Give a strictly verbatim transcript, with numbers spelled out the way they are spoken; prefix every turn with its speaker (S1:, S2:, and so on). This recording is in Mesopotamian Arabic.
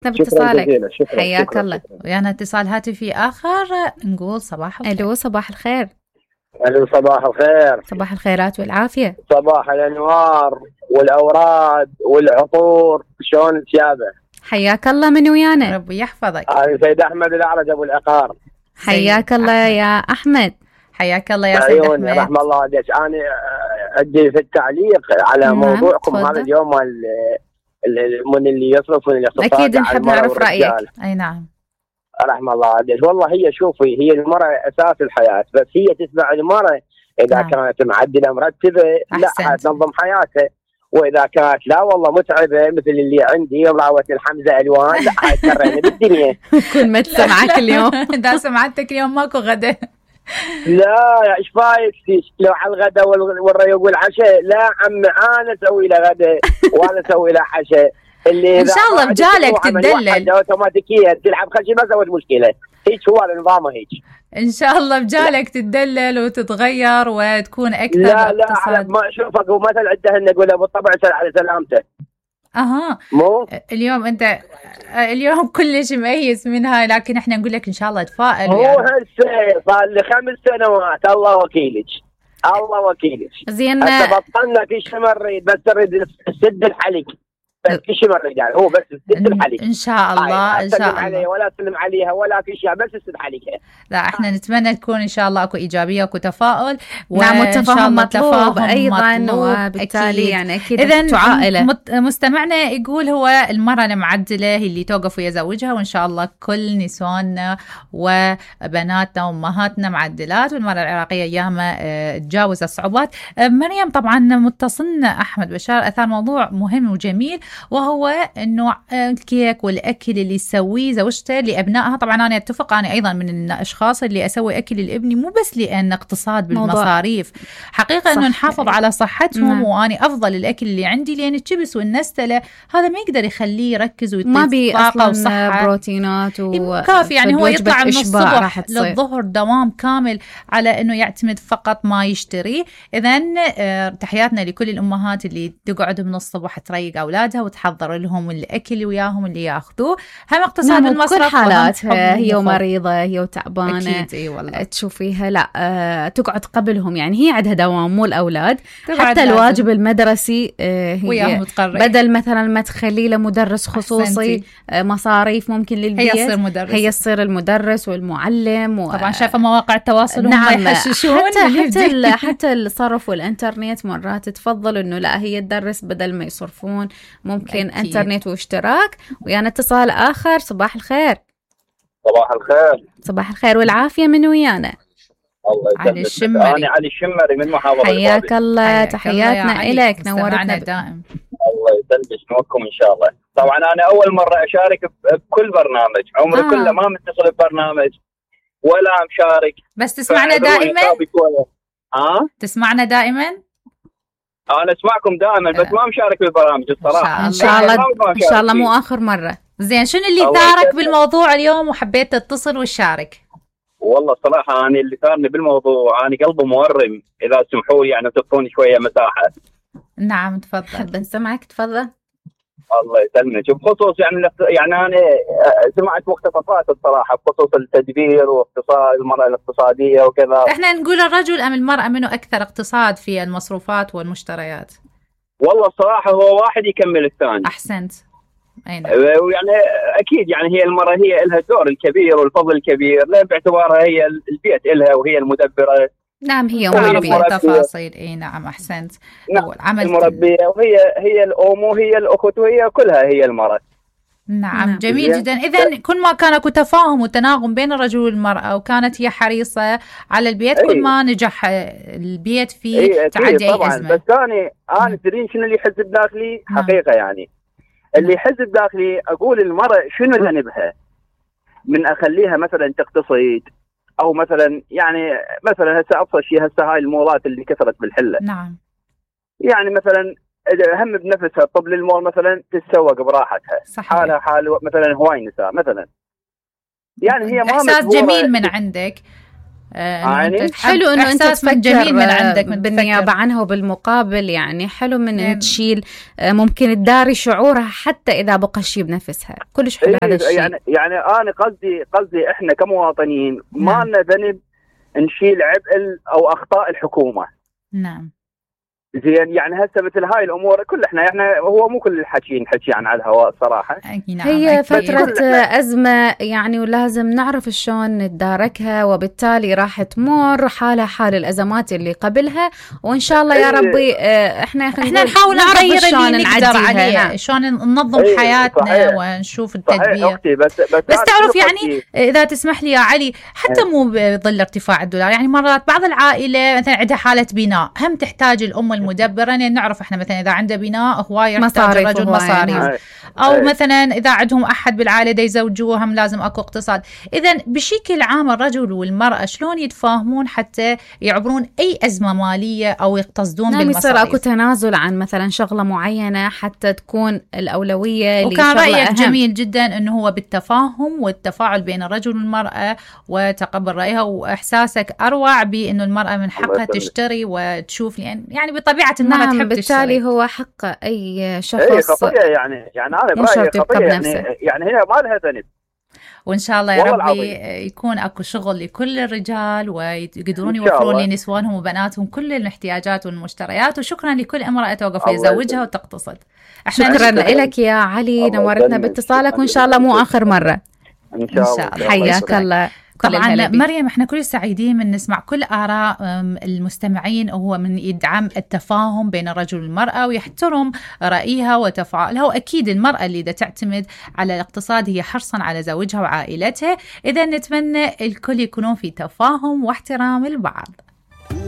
S1: باتصالك.
S2: حياك الله.
S3: ويانا اتصال هاتفي آخر، نقول صباح الخير.
S2: ألو صباح الخير.
S1: ألو صباح الخير.
S2: صباح الخيرات والعافية.
S1: صباح الأنوار والأوراد والعطور، شلون تشابه؟
S2: حياك الله، من ويانا؟
S3: ربي يحفظك.
S1: أنا سيد أحمد الأعرج أبو العقار.
S2: حياك الله
S3: أحمد.
S2: يا أحمد.
S3: حياك الله يا سيد أحمد.
S1: رحم الله عليك. أنا أدي في التعليق على
S2: نعم.
S1: موضوعكم
S2: تفضل.
S1: هذا اليوم، من اللي يصرف من الاقتصاد.
S2: أكيد نحب نعرف رأيك.
S3: أي نعم.
S1: رحم الله عليك. والله هي شوفي، هي المرأة أساس الحياة، بس هي تتبع المرأة إذا
S3: نعم.
S1: كانت معدلة مرتبة لا تنظم حياتها، وإذا كانت لا والله متعبة مثل اللي عندي راوة الحمزة ألوان لا هاي تكرهني بالدنيا.
S2: كل ما تسمعك اليوم.
S3: إذا سمعتك اليوم ماكو غدا.
S1: لا ايش فايك لو على الغداء والريوق والعشاء؟ لا عمي انا اسوي له غداء وانا اسوي له عشاء. اللي
S3: ان شاء الله بجالك تدلل
S1: اوتوماتيكيا تلعب خشي ما سوت مشكله. هيك هو النظام هيك.
S3: ان شاء الله بجالك تدلل وتتغير وتكون اكثر.
S1: لا لا على ما اشوفك ومثل عندهن نقول بالطبع سل على سلامته.
S3: اها
S1: مو
S3: اليوم انت اليوم كلش ميز منها، لكن احنا نقول لك ان شاء الله تفائل.
S1: هو يعني. هسه صار لي خمس سنوات الله وكيلك الله وكيلك.
S2: زين
S1: هسه بطلنا في شيء نريد، بس نريد السد الحلق بس في شيء نريد يعني هو بس السد الحلق
S3: ان شاء الله. ان شاء الله
S1: ولا تسلم عليها ولا في شيء، بس السد حلقها.
S3: لا احنا نتمنى تكون ان شاء الله اكو ايجابيه واكو تفاؤل.
S2: نعم والتفاهم مطلوب ايضا مطلوب. وبالتالي أكيد. يعني اكيد
S3: اذا
S2: عائله
S3: مستمعنا يقول هو المراه المعدله هي اللي توقف ويا زوجها، وان شاء الله كل نسواننا وبناتنا وامهاتنا معدلات، والمراه العراقيه اياما تجاوز الصعوبات. مريم طبعا متصلنا احمد بشار اثار موضوع مهم وجميل، وهو انه الكيك والاكل اللي تسويه زوجته لابنائها. طبعا انا اتفق، انا ايضا من الاشخاص اللي اسوي اكل لابني مو بس لان اقتصاد بالمصاريف، حقيقه انه نحافظ على صحتهم. مم. واني افضل الاكل اللي عندي، لان الشبس والنستله هذا ما يقدر يخليه يركز ويطيق طاقه وصحه
S2: بروتينات
S3: وكافي. يعني هو يطلع من الصبح للظهر دوام كامل على انه يعتمد فقط ما يشتري. اذا تحياتنا لكل الامهات اللي تقعد من الصبح تريق اولادها وتحضر لهم الاكل وياهم اللي ياخذوه. هم اقتصاد
S2: نعم
S3: المصرف.
S2: كل حالاتها هي مريضه هي وتعبانه
S3: اكيد. اي والله
S2: تشوفيها لا أه تقعد قبلهم، يعني هي عندها دوام مو الاولاد. حتى الواجب المدرسي أه هي بدل مثلا ما تخلي له مدرس خصوصي أه مصاريف ممكن للبيت،
S3: هي تصير مدرس،
S2: هي تصير المدرس والمعلم و...
S3: طبعا شايفه مواقع التواصل هم
S2: نعم
S3: يحششون.
S2: حتى حتى, حتى الصرف والانترنت مرات تفضل انه لا هي تدرس بدل ما يصرفون ممكن أكيد. انترنت واشتراك. ويانا اتصال اخر. صباح الخير.
S1: صباح الخير.
S2: صباح الخير والعافيه، من ويانا؟
S1: الله
S3: علي الشمري.
S1: انا علي الشمري من محافظه
S2: حياك الله. تحياتنا اليك، نورتنا
S3: دائم.
S1: الله يسلمك نوركم ان شاء الله. طبعا انا اول مره اشارك بكل برنامج، عمري آه. كله ما متصل ببرنامج ولا مشارك.
S3: بس تسمعنا دائما؟
S1: اه
S3: تسمعنا دائما؟
S1: انا اسمعكم دائما بس ما مشارك بالبرامج الصراحه.
S2: ان شاء الله ان شاء الله مو اخر مره.
S3: زين شنو اللي ثارك بالموضوع اليوم وحبيت تتصل وتشارك؟
S1: والله الصراحه انا اللي ثارني بالموضوع انا قلبي مورم، اذا تسمحوا لي يعني تعطوني شويه مساحه.
S3: نعم تفضل.
S2: حب نسمعك تفضل.
S1: الله يسلمك. بخصوص يعني يعني انا سمعت مقتطفات الصراحه بخصوص التدبير واقتصاد المراه الاقتصاديه وكذا.
S3: احنا نقول الرجل ام المراه منو اكثر اقتصاد في المصروفات والمشتريات؟
S1: والله الصراحه هو واحد يكمل الثاني.
S3: احسنت. اي نعم.
S1: ويعني اكيد يعني هي المراه هي لها الدور الكبير والفضل الكبير، لا باعتبارها هي البيت لها وهي المدبره.
S2: نعم هي
S3: مربية تفاصيل. اي نعم احسنت.
S1: نعم المربيه وهي هي الام وهي الاخت وهي كلها هي المراه.
S3: نعم, نعم. جميل جدا. اذا كل ما كان اكو تفاهم وتناغم بين الرجل والمراه وكانت هي حريصه على البيت كل ما نجح البيت في تعدي اي
S1: طبعا.
S3: ازمه.
S1: بس انا انا تدرين شنو اللي يحز بداخلي حقيقه يعني اللي يحز بداخلي اقول المراه شنو ذنبها من اخليها مثلا تقتصد او مثلا يعني مثلا هسه ابسط شيء هسه هاي المولات اللي كثرت بالحله.
S3: نعم.
S1: يعني مثلا هم بنفسها طب للمول مثلا تتسوق براحتها.
S3: صحيح.
S1: حالها حال مثلا هواي نساء مثلا يعني هي ما
S3: احساس جميل من عندك.
S2: يعني حلو انه انت تفكر جميل من عندك من بالنيابه عنها وبالمقابل، يعني حلو من ان تشيل ممكن تداري شعورها حتى اذا بقى شيء بنفسها. كلش حلو هذا الشيء.
S1: يعني يعني انا قصدي قصدي احنا كمواطنين ما لنا ذنب نشيل عبء او اخطاء الحكومه.
S3: نعم
S1: زين، يعني هسه مثل هاي الامور كل احنا احنا هو مو كل الحكي نحكي عن على الهواء صراحه.
S3: نعم.
S2: هي فتره ازمه يعني، ولازم نعرف شلون نتداركها، وبالتالي راح تمر حالها حال الازمات اللي قبلها، وان شاء الله يا ربي احنا
S3: احنا نحاول نغير اللي نقدر عليه، شلون ننظم ايه حياتنا صحيح. ونشوف التدبير.
S1: أختي بس بس,
S3: بس تعرف يعني اذا تسمح لي يا علي، حتى مو بظل ارتفاع الدولار، يعني مرات بعض العائله مثلا عندها حاله بناء هم تحتاج الام المدبرة، يعني نعرف احنا مثلا إذا عنده بناء هواية يحتاج الرجل مصاريف، أو هاي. مثلا إذا عندهم أحد بالعائلة دا يزوجوه هم لازم أكو اقتصاد. إذن بشكل عام الرجل والمرأة شلون يتفاهمون حتى يعبرون أي أزمة مالية أو يقتصدون
S2: نعم
S3: بالمصاريف؟
S2: يصير أكو تنازل عن مثلا شغلة معينة حتى تكون الأولوية.
S3: وكان رأيك أهم. جميل جدا أنه هو بالتفاهم والتفاعل بين الرجل والمرأة وتقبل رأيها، وإحساسك أروع بأنه المرأة من حقها تشتري وتشوف، يعني يعني بطبيعة المرأة
S2: نعم
S3: تحب
S2: بالتالي
S3: تشتري.
S2: هو حق أي شخص.
S1: اي خطية يعني يعني أنا برأيي خطية يعني, يعني هي ما لها ذنب.
S3: وإن شاء الله يا ربي يكون أكو شغل لكل الرجال ويقدرون يوفرون لنسوانهم وبناتهم كل الاحتياجات والمشتريات. وشكرا لكل امرأة توقف لزوجها وتقتصد.
S2: شكرا لك يا علي، نورتنا باتصالك، وإن شاء الله مو آخر مرة.
S1: إن شاء الله.
S2: حياك الله.
S3: طبعا مريم احنا كل سعيدين من نسمع كل آراء المستمعين، وهو من يدعم التفاهم بين الرجل والمرأة ويحترم رأيها وتفاعلها. وأكيد المرأة اللي دا تعتمد على الاقتصاد هي حرصا على زوجها وعائلتها. إذا نتمنى الكل يكونون في تفاهم واحترام البعض.